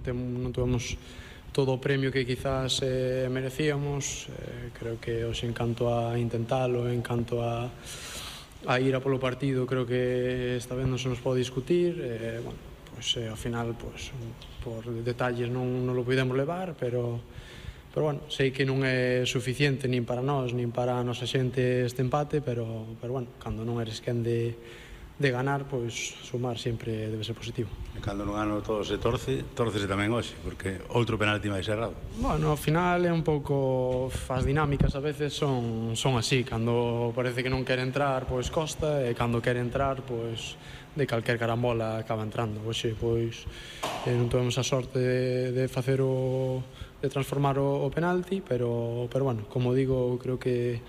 non tuvemos todo o premio que quizás merecíamos. Creo que hoxe, en canto a intentalo, en canto a ir a polo partido, creo que esta vez non se nos pode discutir. Ao final, por detalles non lo podemos levar, pero bueno, sei que non é suficiente nin para nós, nin para a nosa xente este empate, pero bueno, cando non eres quen de ganar, pois sumar sempre debe ser positivo. E cando non ano todo se torcese tamén hoxe, porque outro penalti máis errado. Bueno, ao final é un pouco, as dinámicas a veces son así, cando parece que non quere entrar, pois costa, e cando quere entrar, pois de calquer carambola acaba entrando. Hoxe, pois, non tuvemos a sorte de facer de transformar o penalti, pero bueno, como digo, creo que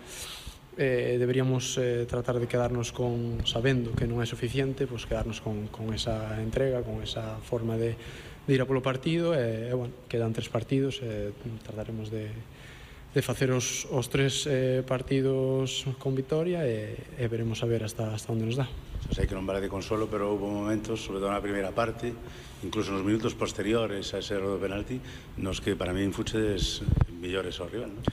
deberíamos tratar de quedarnos sabendo que non é suficiente, pois quedarnos con esa entrega, con esa forma de ir a polo partido. Bueno, quedan 3 partidos, trataremos de facer os 3 partidos con vitoria, e veremos a ver hasta onde nos dá. Sei que non vale de consuelo, pero houve momentos, sobre todo na primeira parte, incluso nos minutos posteriores a ese erro do penalti, nos que para min fuches mellores ao rival, non?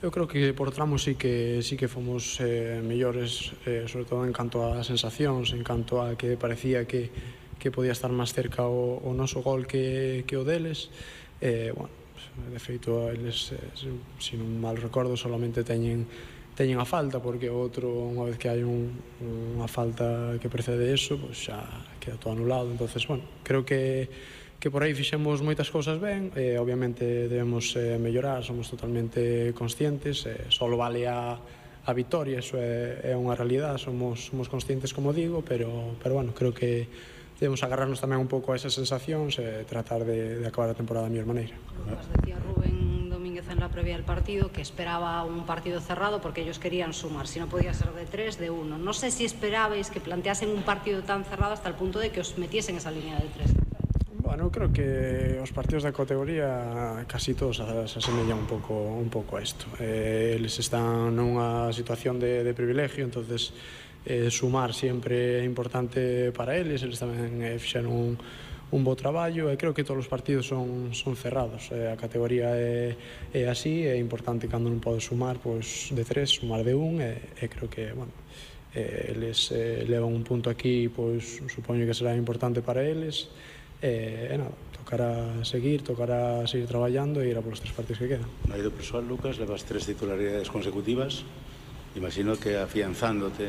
Eu creo que por tramos sí que fomos mellores, sobre todo en canto a sensacións, en canto a que parecía que podía estar máis cerca o noso gol que o deles. Bueno, de feito, eles, se non mal recordo, solamente teñen a falta, porque o outro, unha vez que hai unha falta que precede eso, pois xa queda todo anulado. Entonces, bueno, creo que por aí fixemos moitas cousas ben. Obviamente debemos mellorar, somos totalmente conscientes, só vale a vitoria, eso é unha realidade, somos conscientes, como digo, pero bueno, creo que debemos agarrarnos tamén un pouco a esas sensacións e tratar de acabar a temporada da mellor maneira. Decía Rubén Domínguez en la previa del partido que esperaba un partido cerrado porque ellos querían sumar, si no podía ser de 3, de 1. No sé si esperabais que planteasen un partido tan cerrado hasta el punto de que os metiesen esa línea de 3. Bueno, creo que os partidos da categoría casi todos se asemellan un pouco a isto. Eles están nunha situación de privilegio, entonces sumar sempre é importante para eles tamén fixeron un bo traballo, e creo que todos os partidos son cerrados. A categoría é así, é importante cando non podes sumar, pois de 3, sumar de 1, e creo que, bueno, eles levan un punto aquí, pois supoño que será importante para eles. Nada, tocará seguir traballando e ir a polos 3 partidos que quedan. No eido persoal, Lucas, levas 3 titularidades consecutivas. Imagino que afianzándote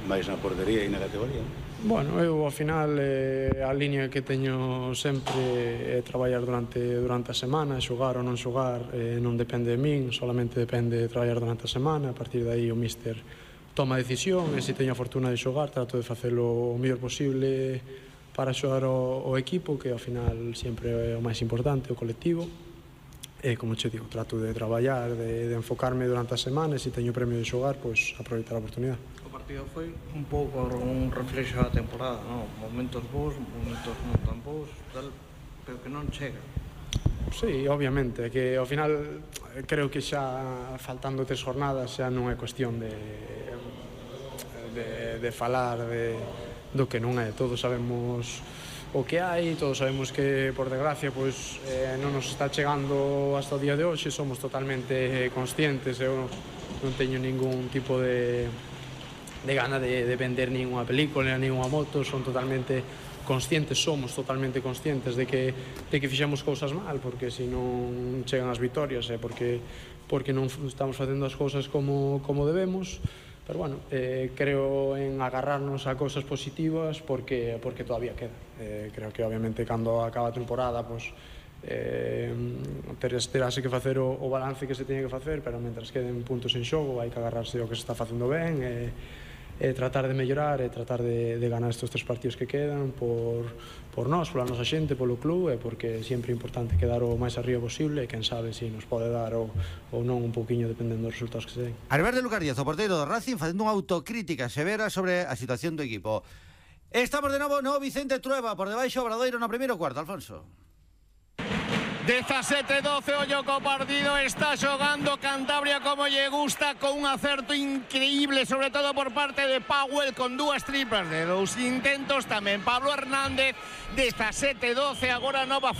máis na portería e na categoría. Bueno, eu ao final a línea que teño sempre é traballar durante a semana, xogar ou non xogar non depende de min, solamente depende de traballar durante a semana. A partir de aí o míster toma a decisión, e se teño a fortuna de xogar trato de facelo o mellor posible para xogar o equipo, que ao final sempre é o máis importante, o colectivo. E, como che digo, trato de traballar, de enfocarme durante a semana, e se teño premio de xogar, pois aproveitar a oportunidade. O partido foi un pouco un reflexo da temporada, non? Momentos bons, momentos non tan bons, tal, pero que non chega. Sí, obviamente, que ao final creo que xa faltando 3 jornadas xa non é cuestión de falar do que non é. Todos sabemos o que hai, todos sabemos que, por desgracia, pois non nos está chegando hasta o día de hoxe. Somos totalmente conscientes, eu non teño ningún tipo de gana de vender ninguna película, ninguna moto. Son totalmente conscientes, somos totalmente conscientes de que fixemos cousas mal, porque se non chegan as vitorias é porque non estamos facendo as cousas como debemos. Pero bueno, creo en agarrarnos a cousas positivas porque todavía queda. Creo que obviamente cando acaba a temporada terase que facer o balance que se teña que facer, pero mentras queden puntos en xogo hai que agarrarse ao que se está facendo ben e tratar de mellorar e tratar de ganar estes 3 partidos que quedan por nós, pola nosa xente, polo club, e porque sempre é importante quedar o máis arriba posible, e quen sabe se nos pode dar ou non un pouquiño dependendo dos resultados que se den. Albert de Lucas Díaz, o porteiro do Racing, facendo unha autocrítica severa sobre a situación do equipo. Estamos de novo no Vicente Trueba, por debaixo Obradoiro no primeiro cuarto, Alfonso. 17-12, ollo co partido, está xogando Cantabria como lle gusta, con un acerto increíble, sobre todo por parte de Powell, con 2 triplas de 2 intentos, tamén Pablo Hernández. 17-12, agora nova